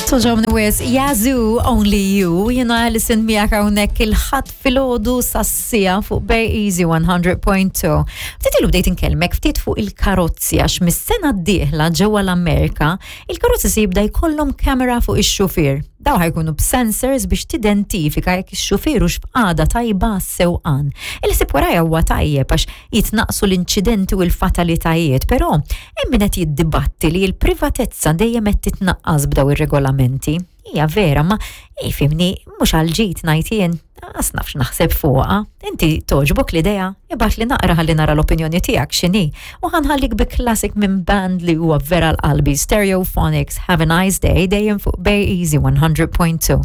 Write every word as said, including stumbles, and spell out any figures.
Togħġobni wisq, Yazoo, Only You, jiena Alison miegħek hawnhekk il-Ħadd filgħodu sas-siegħa fuq Bay Easy one hundred point two. Ftit ilu bdejt inkellmek ftit fuq il-karozzi għax mis-sena d-dieħla ġewwa l-Amerika, il-karozzi se jibda jkollhom kamera fuq ix-xufier. Daw ħa jkunu b'sensors biex tidentifika jekk ix-xufier hux f'qagħda tajba sewqan. Il-ħsieb warajha huwa tajjeb għax jitnaqsu l-inċidenti u l-fatalitajiet, però hemm min qed jiddibatti li l-privatezza dejjem qed titnaqqas b'daw ir-regolamenti. Hija vera, ma ifhimni, mhux għal-ġid ngħid jien, għax nafx naħseb fuqha. Inti togħġbok l-idea, ibgħatli naqra ħalli nara l-opinjoni tiegħek x'inhi. U ħa nħallik bi classic minn band li huwa vera l-qalbi, Stereophonics, Have a Nice Day, dejjem fuq Bay Easy one hundred point two.